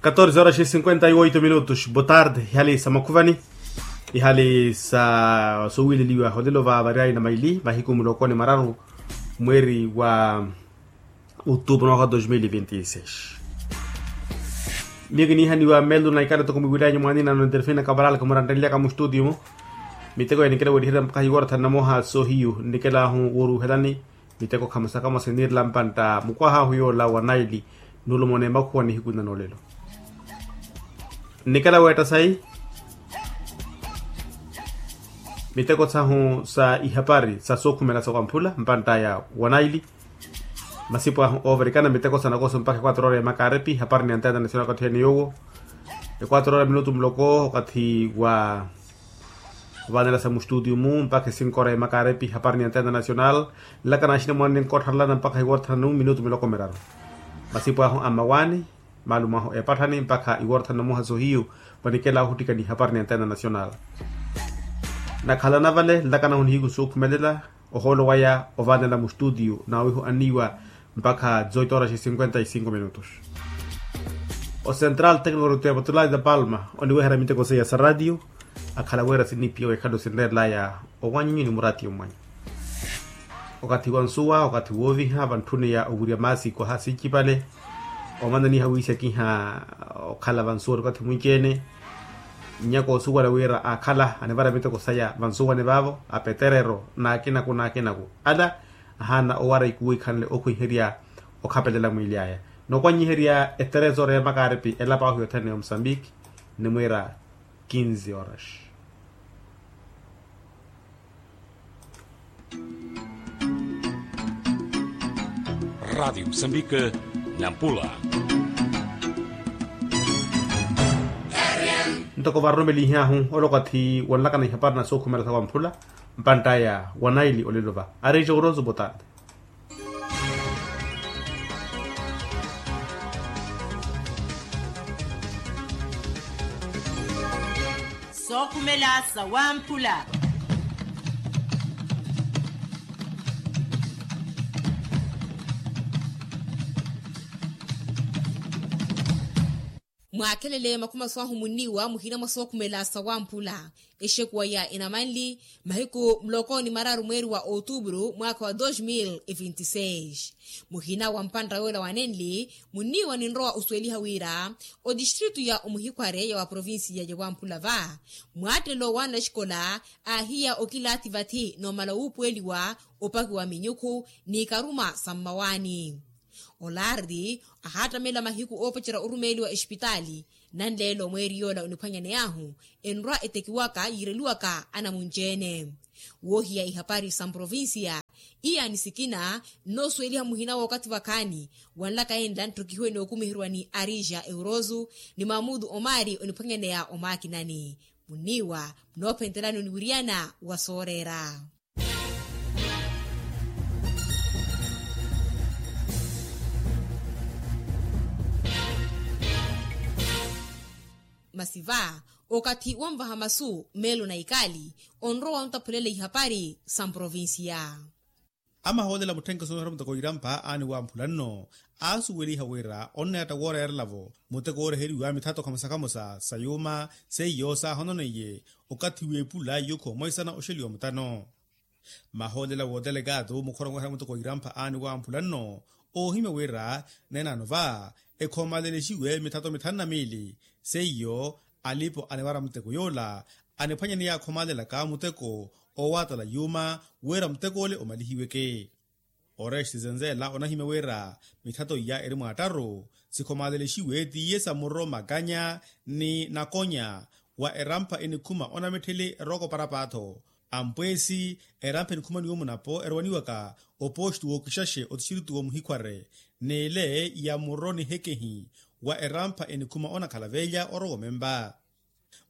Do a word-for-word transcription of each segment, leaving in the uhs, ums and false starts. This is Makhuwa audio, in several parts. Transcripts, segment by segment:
Katorze horas e cinquenta e oito minutos botarde ihali sa makhuvani, ihali sa sowileliwa holelo va variayi na maili mahiku mulokoni mararu, mweri wa utupu na waka dos mil e vinte e seis. Miyo kiniihaniwa melu na ikala toko mwiwilaya nyumwanina no interfina kabaral kamurantenlyaka mu studio mu. Miteko ya nikela weriherya mpakha hiwara thani na moha sohiyu nnikela ahu woruhelani. Miteko khamosa khamosa iniirela mpantta mukwaha ahu yoola wa naili, nulumona emakhuwa nihiku nna noolelo. Nnikela weetta sayi miteko sahu sa ihapari sa sookhumela sa wamphula mpantt'aya wa naili. Masipu ahu oovarikana miteko sa nakoso mpakha ekwatro ora ya makaripi hapari ni anteya international okathi ene yoowo. Ekwatro ora minutu muloko okathi wa ovaanela sa mustudio mu mpakha esinko ora ya makaripi hapari ni anteya international. Nlaka naxina mwaani nkottharelana mpakha iworthanu minutu miloko miraru. Masipu ahu a mmawaani, maalumo ahu epatthani mpakha iworthanu na muhaso hiyu. Vanikela ohuttikani hapari ni anteya international. Nakhalana vale nlaka nahu nihiku sookhumelela ohoolo waya ovaanela mustudio na wihu anniiwa mpakha zoito horas e cinquenta e cinco minutos. Ocentral tecnico rutevatulai da palma oniweherya miteko seiya sa ratio. Akhala wira sinnipiya wekhale osinreerelaya owanyunyu ni muratio mmwanyu. Okathi wa nsuwa okathi wooviha vantthuni ya owirya maasi kwaha sincipale. Omananiha wiisakiha okhala vansuwani okathi mwinci-ene. Nnyaka osuwela wira aakhala anivara miteko saya vansuwani vaavo apeterero n'akinaku n'akinaku ala ahaana owara ikuwo ikhanle okhwiherya okhapelela mwiili aya. Nookwanyiherya eterezoro ya makaripi elapa ahu yothene ya omusambiki nimwiira kinzi horas. Radiyo musambiki nampula. Ntoko varoromelihahu ole okathi wanlakana ihapari na sookhumela sa wamphula mpantt'aya wa naili olelo va ari jogroso botarde. Sookhumela sa wamphula. Mwaakhelele makhuma swahu munniiwa muhina mwa sookhumela sa wamphula. Exekuwa ya enamanli mahiku muloko ni mararu mweeri wa outubru mwaakha wa dos mil e vinte e seis. Muhina wa mpantta yoola wanenli munniiwa ninrowa osuweliha wira otistritu ya omuhikhware ya wa provincia ya wamphula va mwaattelo wa naxikola aahiya okilaathi vathi noomala wuupuweliwa opakiwa minyukhu n'ikaruma sa mmawaani. Olardi ahaattamela mahiku oopacerya orumeeliwa exipitaali. Nanleelo mweeri yoola oniphwanyaney'ahu enrwa etekiwaka yiireliwaka anamunci-ene. Woohiya ihapari sa mprovincia iya ni sikina nnoosuweliha muhina w'okathi vakhaani wanlaka enla nttokihiwe nookumiheryiwa ni arija eurozu ni mamudu omari oniphwanyaneya omaakinani. Munniiwa munoophentelani oniwiriyana wa sooreera. Masi va okathi wonvaha masu meelo na ikaali onrowa ontaphulela ihapari sa mprovincia. Amahoolela mutthenke soohera muteko irampa aani wamphula nno aasuweliha wira onneetta wooreerela-vo muteko wooreheriwa mithatho khamosa khamosa sa yuuma seiyo saahononeiye okathi w'epula yukho mwaisana oxeliwa mutano. Mahoolela w'otelekaatu mukhora onweherya muteko irampa aani wamphula nno oohimya wira neenano va ekhoomalelexiwe mithatho mithanu na miili seiyo alipo anivara muteko yoola aniphwanyaneya akhoomalelaka muteko oowatala yuuma wira muteko ole omalihiweke. Oreste zenzela onahimya wira mithatho iya eri mwaattaru sikhoomalelexiwe tiye sa muro makanya ni nakonya wa erampha enikhuma onamittheli eroko parapatho ampweesi erampha enikhuma ni omunapo erowaniwaka opostu w'okixaxe otistritu w'omuhikhware n'ele ya muro nihekehi wa erampha enikhuma onakhala velya orowa omempa.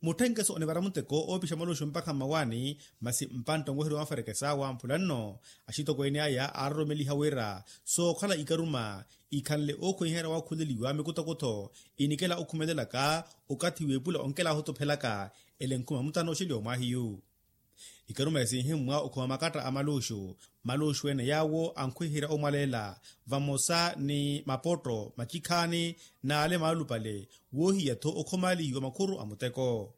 Mutthenkeso onivara muteko oopixa maluxu mpakha mmawaani masi mpantta onweherya wamferekesa wamphula nno axitokweene aya aaroromeliha wira sookhala ikaruma ikhanle ookhweiherya wakhuleliwa mikuthokutho inikela okhumelelaka okathi w'epula onkelaahu otuphelaka ele nkhuma mutano oxeliwa omwaahiyu. Ikaruma esinhimmwa okhuma makatta a maluxu. Maluxu ene yaawo ankhwiherya omwaleela vamosa ni mapotto macikhaani n'ale maalupale, woohiya-tho okhomaalihiwa makhuru a muteko.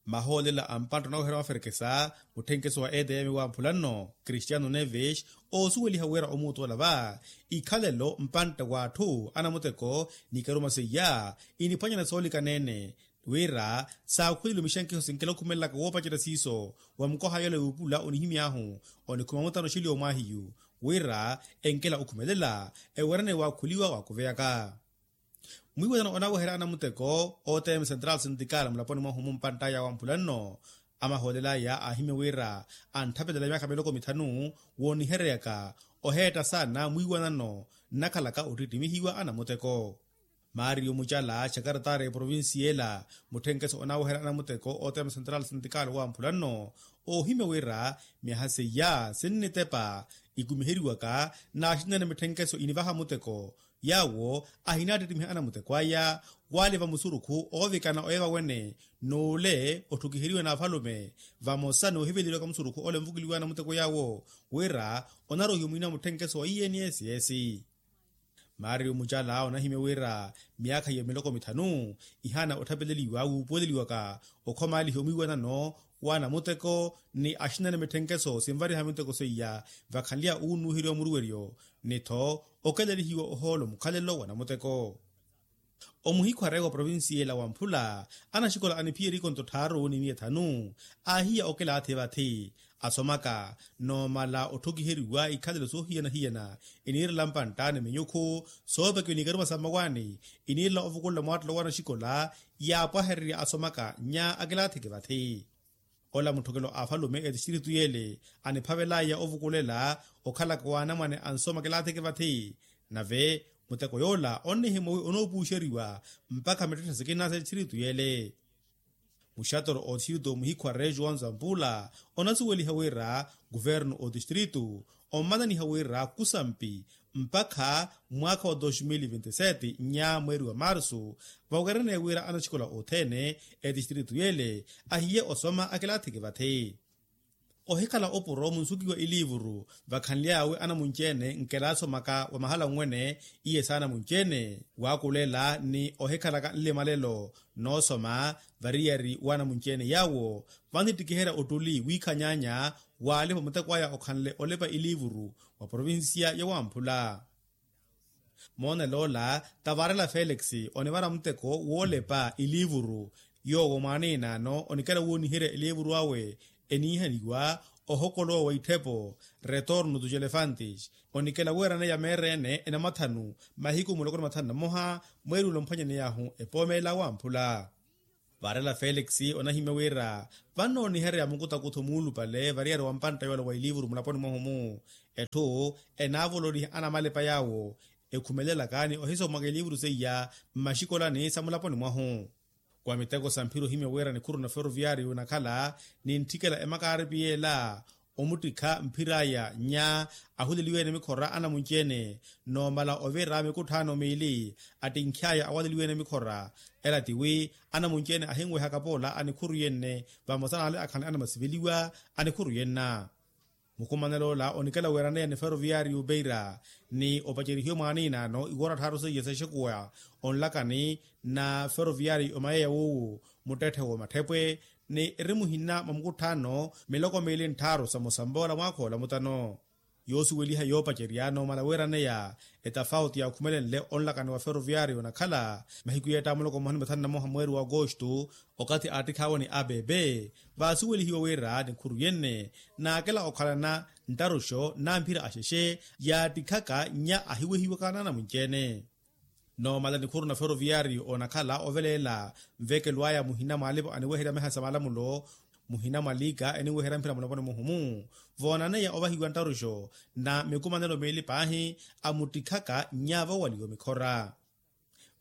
Mahoolela a mpantta onaweherya maferekesa, mutthenkeso wa etm wa mphulanno, cristiano neves, oosuweliha wira omuutola va ikhalelo mpantta w'atthu anamuteko n'ikaruma seiya, iniphwanyana soolikana-ene wira saakhuweleliwe mixenkeho sinkela okhumelelaka woopacerya siiso wa mukoha yoola yuupula onihimy'ahu onikhuma mutano oxili omwaahiyu, wira enkela okhumelela ewerene waakhuliwa waakuveyaka. Mwiiwanano onaweherya anamuteko otm central sintikal mulaponi mwahu mumpantt'aya wa mphulanno, amahoolel'aya aahimya wira antthapelele myaakha miloko mithanu woonihereryaka oheetta saana mwiiwanano nnakhalaka ottitimihiwa anamuteko. Mario mucala xakaratari eprovincia ela, mutthenkeso onaweherya anamuteko otm central sintikal wa mphulanno, oohimya wira myaha seiya sinnitepa ikumiheriwaka n'axinene mitthenkeso inivaha muteko, yaawo ahinattittimiha anamuteko aya waliva musurukhu oovikana oya vawene n'ule otthukiheriwe n'afalume, vamosa n'uhiveleliwaka musurukhu ole onvukuliwa anamuteko yaawo wira onarohiwa mwina mutthenkeso wa iyeni esiyesi. Mario mucala onahimya wira myaakha ya miloko mithanu ihaana otthapeleliwa wuupuweleliwaka okhomaalihiwa omwiiwanano w'anamuteko ni axinene mitthenkeso sinvariha miteko seiya vakhanlya uunuuheriwa muruweryo ni-tho okelelihiwa ohoolo mukhalelo wa namuteko. Omuhikhware wa provincia ela wa mphula anaxikola aniphiyeriko nto tthaaru ni miya ethanu aahiya okelaathi vathi asomaka noomala otthokiheriwa ikhalelo soohiyana-hiyana iniirela mpantta ni minyukhu soopekiwa n'ikaruma sa mmawaani iniirela ovukulela mwaattelo w'anaxikola yaapwahererya asomaka nnya akilaatheke vathi. Ola mutthokelo a afalume etistritu y'ele aniphavel'aya ovukulela okhalaka w'anamwane ansoma kilaatheke vathi nave muteko yoola onnihimwa wi onoopuuxeriwa mpakha mittetthe sikina s'etistritu y'ele. Muxatoro otistritu omuhikhwa rejo wa nzampula onasuweliha wira kuvernu otistritu ommananiha wira kusampi mpakha mwaakha wa dos mil vinti sete nnya mweeri wa marsu vawereneye wira anaxikola othene etistritu y'ele ahiye osoma akilaatheke vathi. Ohikhala opuro munsukiwa iliivuru vakhanly'awe anamunci-ene nkelaasomaka wa mahala nwene iye s'anamunci-ene waakulela ni ohikhalaka nlimalelo noosoma variyari w'anamunci-ene yaawo vantittikiherya ottuli wiikhanyaanya waalipa muteko aya okhanle olepa iliivuru wa provincia ya wamphula. Moonel'ola tavarela felix onivara muteko woolepa iliivuru yoowo mwaaniinaano onikela wooniherya iliivuru awe eniihaniwa ohokolowa wa itthepo retorno dos elefantes onikela weeraneya meera-ene enamathanu mahiku muloko ni mathanu na mmoha mweeri ula omphwanyaney'ahu epoomeela wamphula. Varela felix onahimya wira vannooniherya mukutakutho muulupale variyari wa mpantta yoola wa iliivuru mulaponi mwahu-mu etthu enaavololiha anamalepa yaawo ekhumelelaka ni ohisomaka iliivuru seiya mmaxikolani sa mulaponi mwahu. Wa miteko sa mphira ohimya wira nikhuru na ferroviario onakhala nintthikela emakaaripi yeela omuttikha mphir'aya nnya ahuleliwe-ene mikhora anamunci-ene noomala ovira mikutthaano miili attinkh'aya awaleliwe-ene mikhora ela tiwi anamunci-ene ahinwehaka poola anikhuru yenne vamosa n'ale akhanle anamasiveliwa anikhuru yenna. Mukumanel'ola onikela weeraneya ni ferroviario beira ni opacerihiwe mwaaniinaano iwoora tthaaru seiya sexekuwa onlakani na ferroviario mayeya w'uwu muttetthe w'omatthepwe ni eri muhina mwa mukutthaano miloko miili ntthaaru sa musamboola mwaakha ola mutano. Yoosuweliha yoopacerya noomala weeraneya etafauti yaakhumelenle onlakani wa ferroviario onakhala mahiku yeetta muloko mmoha ni mathanu na mmoha mweeri wa agosto okathi aattikh'awe ni abb vaasuwelihiwe wira nikhuru yenne naakela okhalana nttaruxo n'amphira axexe yaattikhaka nnya ahiwehiwaka n'anamunci-ene. Noomala nikhuru na ferroviario onakhala oveleela nvekelo aya muhina mwa alipo aniweherya meha sa malamulo muhina mwa liika eniweherya mphira muloponi muhumu voonaneya ovahiwa nttaruxo na mikumanelo miili paahi amuttikhaka nnya vowaliwa mikhora.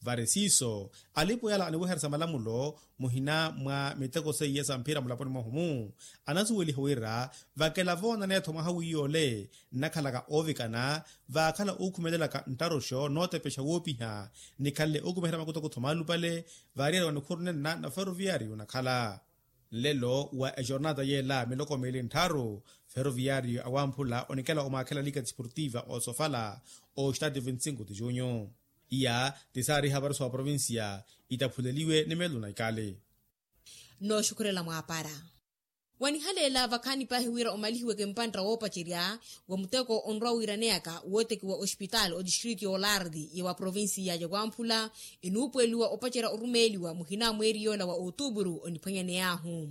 Vari siiso alipo yala aniweherya sa malamulo muhina mwa miteko seiya sa mphira mulaponi mwahumu anasuweliha wira vakela voonaneya-tho mwaha wiyole nnakhalaka oovikana vaakhala ookhumelelaka nttaruxo nootepexa woopiha nikhanle ookumiherya makutakutho maalupale. Variyari wa nikhuru nenna na ferroviario onakhala Nlelo wa ejornata yeela miloko miili nttharu, ferroviyaariyo awamphula onikela omwaakhela liga disportiva osofala, ostati vinti cinco de junho. Iya ti saariha variso wa provincia itaphuleliwe ni meelo na ikali. Nooxukhurela mwaapara. Wanihaleela vakhaani paahi wira omalihiweke mpantta woopacerya wa muteko onrwa wiiraneyaka wootekiwa ospitaali otistritu y'olardi ya wa provinsi ya wamphula, enuupuweliwa opacerya orumeeliwa muhina mweeri yoola wa otupuru oniphwanyaney'ahu.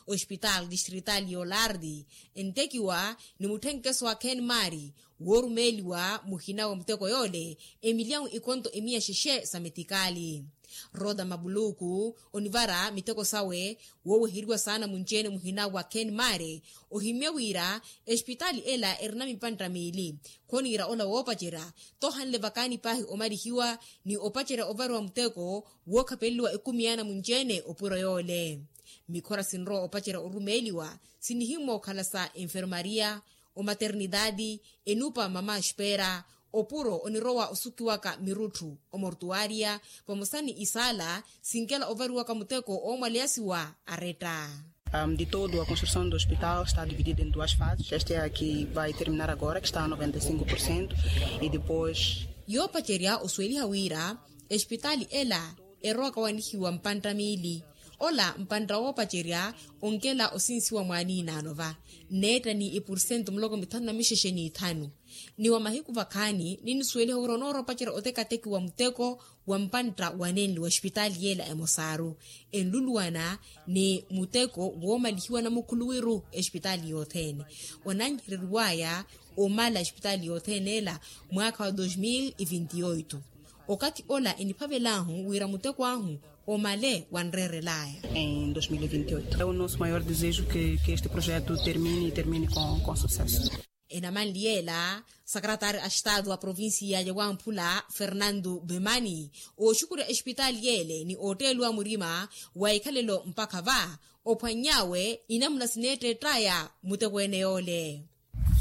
Ospitaali tistritaali y'olardi entekiwa ni mutthenkeso wa kenmari woorumeeliwa muhina wa muteko yoole emilyawu ikonto emiya xexe sa metikaali. Roda mabuluku onivara miteko sawe wooweheriwa saana munci-ene muhina wa kenmari, ohimye wira espitaali ela erina mipantta miili. Khoniira ola woopacerya tohanle vakaani paahi omalihiwa ni opacerya ovariwa muteko wookhapeleliwa ekumi yaana munci-ene opuro yoole. Mikhora sinrowa opacerya orumeeliwa sinihimmwa okhala sa enfermaria, omaternitaati, enupa mama espera, opuro onirowa osukiwaka mirutthu, omortuaria, vamosa ni isaala sinkela ovariwaka muteko oomwaleya siwa aretta. De todo a construção do hospital está dividida em duas fases. Esta é a que vai terminar agora, que está a noventa e cinco por cento, e depois. Yoopacerya osuweliha wira espitaali ela erowaka wanihiwa mpantta miili. Ola mpantta woopacerya onkela osinsiwa mwaaniinaano va neetta ni ipursentu muloko mithanu na mixexe n'ithanu. Ni wa mahiku vakhaani ninisuweliha wira onooropacerya otekateki wa muteko wa mpantta wanenli wa espitaali yeela emosaaru enluluwana ni muteko woomalihiwa namukhuluwiru espitaali yothene wananhereriwaya omala espitaali yothene ela mwaakha wa dos mil e vinti oito. Okathi ola eniphavel'ahu wira muteko ahu omale wanreerel'aya. Em dois mil e vinte e oito é o nosso maior desejo que este projeto termine e termine com sucesso. Enamanli yeela sakaratari a estado a provincia ya wamphula fernando bemani ooxukurya espitaali yeele ni ootteeliwa murima wa ikhalelo mpakha va ophwanny'awe inamuna sineetteett'aya muteko ene yoole.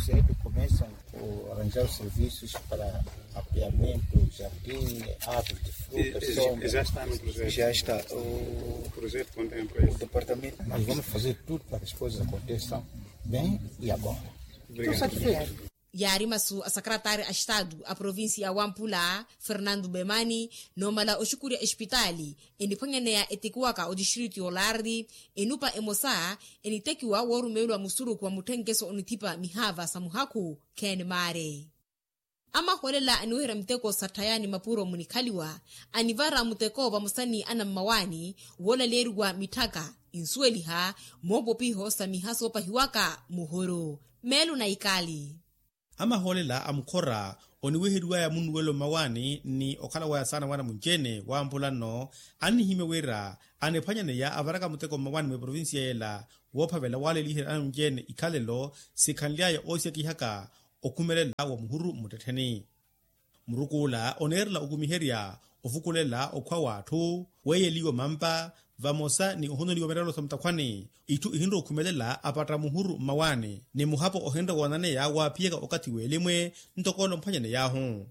Cedo começam a arranjar os serviços para apoiamento, jardim, árvore de fruta, sombra. Já está no projeto. Já está. O projeto contempla isso. O departamento, nós vamos fazer tudo para que as coisas aconteçam bem e agora. Estou satisfeito. Yaari masu a sakaratari a estado a provincia ya wamphula fernando bemani noomala oxukurya espitaali eniphwanyaneya etekiwaka otistritu y'olardi enupa emosa enitekiwa woorumeeliwa musurukhu wa mutthenkeso onithipa mihaava sa muhakhu khenemaare. Amahoolela aniweherya miteko sa tthaya ni mapuro munikhaliwa anivara muteko vamosa ni anammawaani woolaleeriwa mitthaka insuweliha moopopiho sa miha soopahiwaka muhuru meelo na ikali. Amahoolela a mukhora oniweheriwaya munnuwelo mmawaani ni okhala waya saana wana munci-ene wamphula nno annihimya wira aniphwanyaneya avaraka muteko mmawaani mwa eprovincia yela woophavela waaleliherya ana munci-ene ikhalelo sikhanly'aya oosikakihaka okhumelela wa muhuru mmuttettheni. Murukuula oneerela okumiherya ovukulela okhwa w'atthu weeyeliwa mampa vamosa ni ohonoliwa mirelo sa mutakhwani itthu ihinre okhumelela apatta muhuru mmawaani ni muhapo ohinre woonaneya waaphiyaka okathi w'elimwe ntoko ole omphwanyaney'ahu.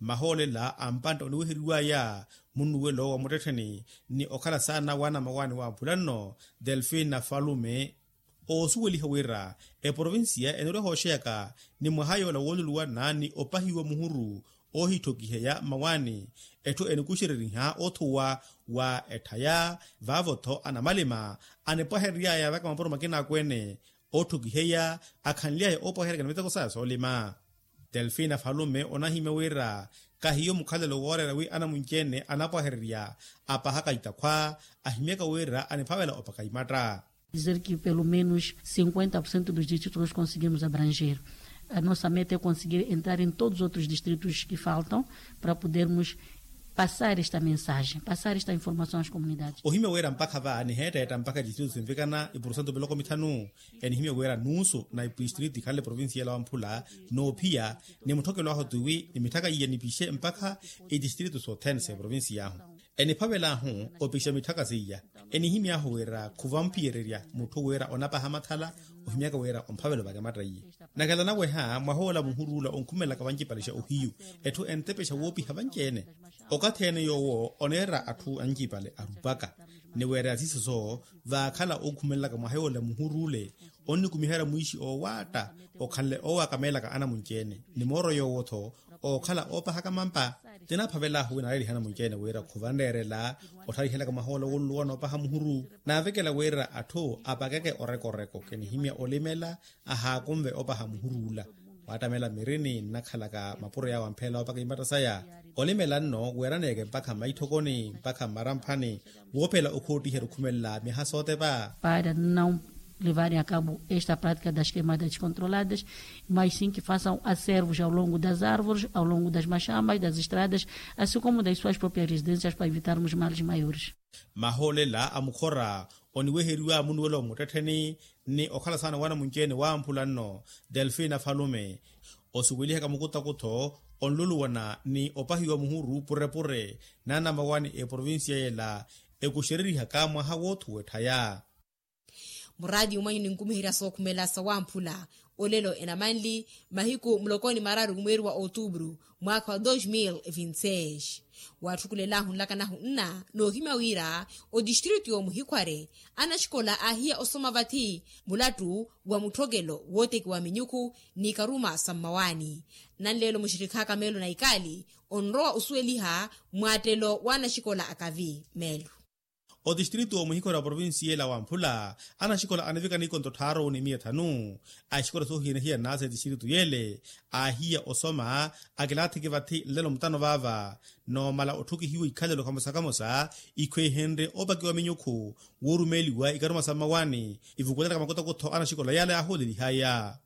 Mmahoolela a mpantta oniweheriwaya munnuwelo wa muttettheni ni okhala saana wa anammawaani wamphula nno delfina falume oosuweliha wira eprovincia enirwa ehooxeyaka ni mwaha yoola wooluluwana ni opahiwa muhuru oohithokiheya mmawaani etthu enikuxereriha othuwa wa etthaya vaavo-tho anamalima anipwahereryaya vaka mapuro makina akweene otthokiheya akhanly'aya oopwaheryaka ni miteko saya soolima. Delfina falume onahimya wira kahiyo mukhalelo wooreera wi anamunci-ene anapwahererya apahaka itakhwa ahimyaka wira aniphavela opaka imatta. Dizer que pelo menos cinquenta por cento dos distritos nós conseguimos abranger. A nossa meta é conseguir entrar em todos os outros distritos que faltam para podermos passar esta mensagem, passar esta informação às comunidades. Ohimya wira mpakha va niheetteetta mpakha distritu sinvikana ipursentu miloko mithanu. Enihimya wira nuusu na ipistritu ikhanle provincia ela wamphula noophiya ni mutthokelo ahu tiwi ni mitthaka iya nipixe mpakha itistritu sothene sa eprovincia ahu eniphavel'ahu opixa mitthaka seiya. Enihimy'ahu wira khuvamphiyererya mutthu wira onapaha mathala ohimyaka wira omphavela ovaka ematta iye. Nakhala naweha mwahoola muhuru ola onkhumelelaka vancipale xa ohiyu etthu entepexa woopiha vanci-ene. Okathi ene yoowo oneera atthu ancipale arupaka Ni weera yasisoso vaakhala ookhumelelaka mwaha yoola muhuru ole, onnikumiherya mwiixi oowaatta okhanle oowakameelaka anamunci-ene. Ni mooro yoowo-tho ookhala oopahaka mampa. Tinaphavel'ahu wina aleelihe anamunci-ene wira khuvanreerela ottharihelaka mwaha ola wooluluwa noopaha muhuru. Naavekela wira atthu apakeke orekoreko kinihimya olimela ahaakunve opaha muhuru ola. Waattamela mirini nnakhalaka mapuro yaawe ampheela opaka imatta saya. Olimela nno weeraneeke mpakha mmaitthokoni mpakha mmaramphani woophela okhoottiherya okhumelela myaha sootepa. Para não levarem a cabo esta prática das queimadas descontroladas, mas sim que façam acervos ao longo das árvores, ao longo das machamas, das estradas, assim como das suas próprias residências para evitarmos males maiores. Mahoolela a mukhora oniweheriwa munuwelo mmuttettheni ni okhala saana wanamunci-ene waamphula nno, delfina falume, osuwelihaka mukutakutho onluluwana ni opahiwa muhuru purepure n'anamawani eprovincia yela ekuxererihaka mwaha woothuwa etthaya. Muraati umwanyu ninkumiherya sookhumela sawamphula olelo enamanli mahiku mulokoni mararu kumweeri wa outubru mwaakha wa dos mil vinti seis. Watthukulelahu nlakanahu nna noohimya wira otistritu y'omuhikhware anaxikola aahiya osoma vathi mulattu wa mutthokelo wootekiwa minyukhu ni karuma sa mmawaani. Nanleelo muxirikhaaka meelo na ikaali onrowa osuweliha mwaattelo w'anaxikola akavi meelo. Otistritu omuhikhora wa provincia ela wamphula anaxikola anivika nikonto tthaaru ni miya thanu. Axikola soohiyana-hiyana sa etistritu yele aahiya osoma akilaathiki vathi nlelo mutano vaava. Noomala otthukihiwa ikhalelo kamosa-kamosa ikhwehenrye opakiwa minyukhu woorumeeliwa ikaruma sa mmawaani ivukutelaka makutakutho anaxikola yale yaahoolelihaya.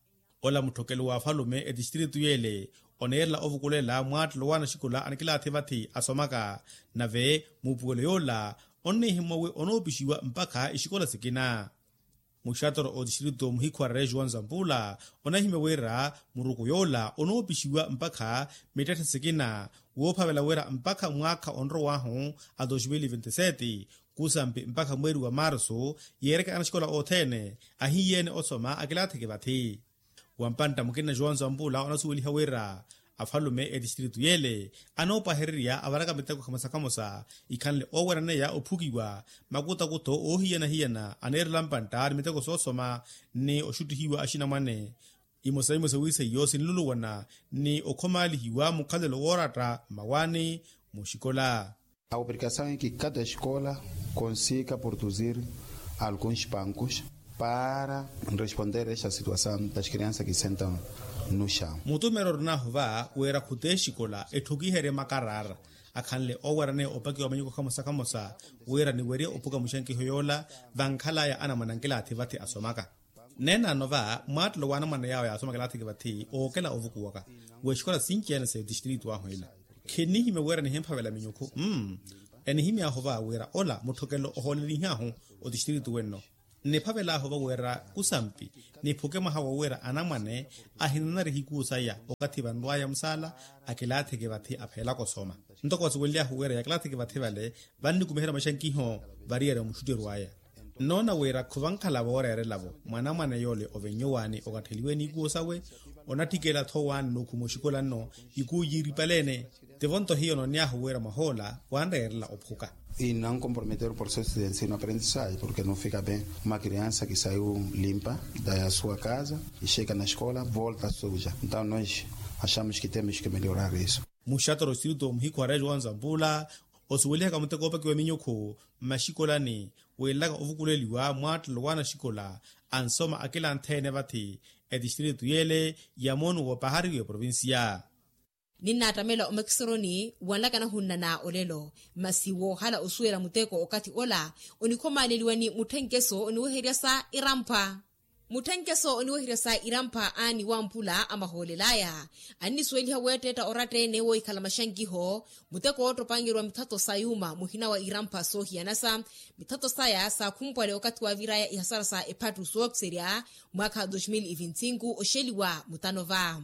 Ola mutthokelo wa afalume etistritu yele oneerela ovukulela mwaattelo w'anaxikola anikilaathi vathi asomaka. Nave muupuwelo yoola onnihimmwa wi onoopixiwa mpakha ixikola sikina. Muxatoro otistritu muhikhwarere juan zampula onahimya wira muruku yoola onoopixiwa mpakha mittetthe sikina woophavela wira mpakha mwaakha onrow'ahu a dos mil vinti sete kusampi mpakha mweeri wa marsu yeereke anaxikola othene ahiyeene osoma akilaatheke vathi. Wa mpantta mukina juan zampula onasuweliha wira afalume etistritu yele anoopwahererya avaraka miteko khamosa-khamosa ikhanle ooweraneya ophukiwa makutakutho oohiyana-hiyana aneerela mpantta ni miteko soosoma ni oxuttihiwa axinamwane. Imosa-imosa wi seiyo sinluluwana ni okhomaalihiwa mukhalelo wooratta mmawaani muxikola. A obrigação em que cada escola consiga produzir alguns bancos para responder esta situação das crianças que sentam no chão. Mutumero orinahu va wira khuti exikola etthukiherye makaraara akhanle ooweraneya opakiwa manyuko khamosa-khamosa wira niwerye opuka muxankiho yoola vankhalaya anamwane ankilaathi vathi asomaka. Neenano va mwaattelo w'anamwane yaawo yaasoma akilaathiki vathi ookela ovukuwaka w'exikola sinci-ene sa etistritu ahu ela. Khinnihimya wira nihimphavela minyukhu mm. Enihimy'ahu va wira ola mutthokelo ohoolelihi'ahu otistritu wenno. Nniphavel'ahu va wira kusampi niphuke mwaha wo wira anamwane ahinanariha ikuu saya okathi vanrw'aya musaala akilaathiki vathi apheelaka osoma. Ntoko vasuwelely'ahu wira yakilaathiki vathi vale vannikumiherya maxankiho variyari omuxutterw'aya. Nnoona wira khuvankhala vooreerela-vo mwanamwane yoole ovennyuwaani okatteliwe n'ikuu sawe. Onatthikela-tho waani n'ukhuma oxikola nno ikuu yiiripale-ene. Tivo-nto hiyo noonny'ahu wira mwahoola wanreerela ophuka. E não comprometer o processo de ensino aprendizagem porque não fica bem uma criança que saiu limpa da sua casa e chega na escola volta suja. Então nós achamos que temos que melhorar isso. Muxatoro oxitiritu omuhikhwara ejo wa nzampula osuwelihaka muteko oopakiwa minyukhu mmaxikolani wiilelaka ovukuleliwa mwaattelo w'anaxikola ansoma akila antheene vathi etixitiritu yeele ya moonuwo pahari w'eprovincia. Ninnaattamela omakisoroni wanlaka nahunnana olelo masi woohala osuwela muteko okathi ola onikhomaaleliwa ni mutthenkeso oniweherya sa irampa. Mutthenkeso oniweherya sa irampa aani wampula amahoolel'aya annisuweliha weetteetta oratta-ene woohikhala maxankiho muteko oottopangerwa mithatho sa yuuma muhina wa irampa soohiyanasa mithatho saya saakhumpwale okathi waavir'aya ihasara sa ephattu sookiserya mwaakha dos mil e vinti sinku oxeliwa mutano va.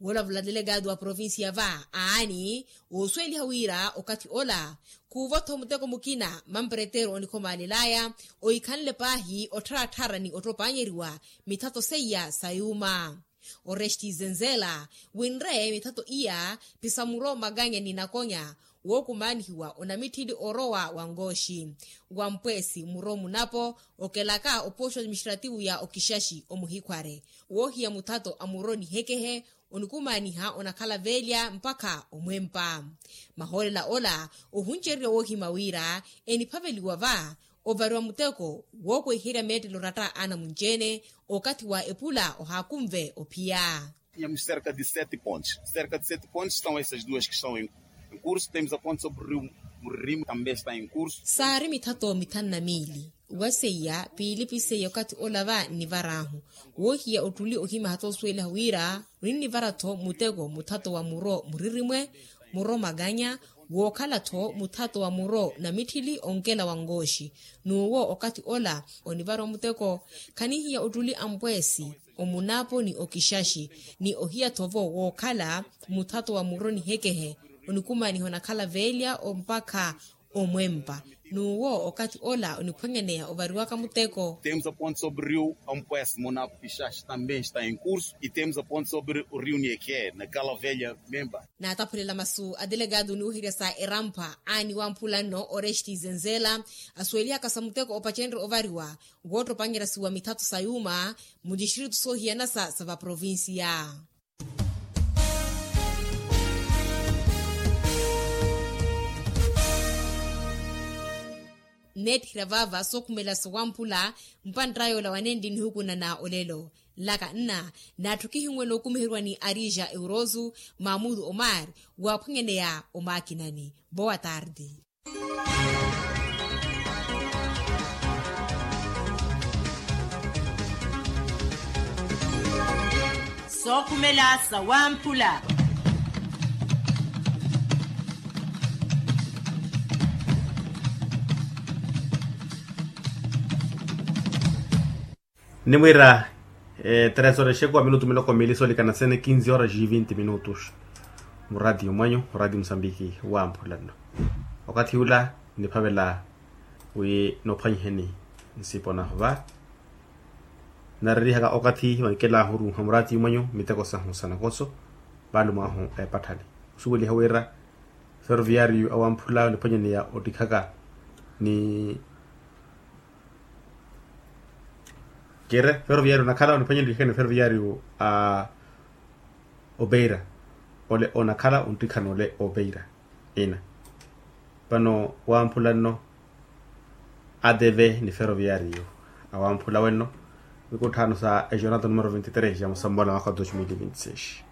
Woolavula delegado wa provincia va aani oosuweliha wira okathi ola khuuvo-tho muteko mukina mampereteero onikhomaalel'aya ohikhanle paahi ottharattharani ottopaanyeriwa mithatho seiya sa yuuma. Oresti zenzela winre mithatho iya pisamuro maganya ni nakonya Wookumaanihiwa onamitthili orowa wa nkooxi, wa mpweesi muro munapo, okelaka opooxo administrativu ya okixaxi omuhikhware, woohiya muthato a muro nihekehe, onikumaaniha onakhala veelya mpakha omwempa. Mahoolela ola ohuncererya woohima wira eniphaveliwa va ovariwa muteko wookweherya meettelo oratta a anamunci-ene. Okathi wa epula ohaakunve ophiya. Tínhamos cerca de sete pontes. Cerca de sete pontes estão essas duas que estão em, em curso. Temos a ponte sobre o rio Muririmo, também está em curso. Saari mithato mithanu na miili. Waseiya piili piseiya okathi ola va nnivar'ahu. Woohiya ottuli ohimaha toosuweliha wira, oninnivara-tho muteko muthato wa muro muririmwe, muro makanya, wookhala-tho muthato wa muro namitthili onkela wa nkooxi. N'uwo okathi ola onivariwa muteko, khanihiya ottuli a mpweesi, omunaapo ni okixaxi, ni ohiya-tho-vo wookhala muthato wa muro nihekehe, onikumaaniha onakhala veelya mpakha omwempa. N'uwo okathi ola oniphwanyaneya ovariwaka muteko. Temos a ponte sobre o rio Ampués, Monapo Pixaxi também está em curso, e temos a ponte sobre o rio Niekhe, na Cala Velha, Memba. Naataphulela masu a delegado oniweherya sa erampa aani wamphula nno oresti zenzela, asuwelihaka sa muteko opacenre ovariwa, woottopanyerya suwa mithato sa yuuma, mu distritu soohiyana sa sa vaprovincia. Nneetthira vaava sookhumela sowamphula. Mpantta yoola wanenli nihukunana olelo, nlaka nna naatthu kihinwela okumiheriwa ni arija euroso, mamudu omar, waaphwanyaneya omaakinani. Boa tarde. Sookhumela sawamphula. Nimwiira tres horas exekuwa minutu miloko miili soolikana sene kinzi horas e vinti minutos. Muratiyo mwanyu oratiyo musambiki wamphula nno. Okathi ula niphavela wi nophwanyiheni nsipo nahu va. Narerihaka okathi vankelahu oruuha muratiyo mwanyu miteko sahu sa nakoso, vaalumo ahu epatthani. Osuweliha wira ferroviario awamphula oniphwanyaneya ottikhaka ni kire ferroviario onakhala oniphwanyaneya ottikhaka ni ferroviario a opeira. Ole onakhala onttikhana ole opeira ina. Vano wamphula nno adeve ni ferroviario awamphula wenno. Mikutthano sa ejornata numero veintitrés ya musambola mwaka wa dos mil e veintiseis.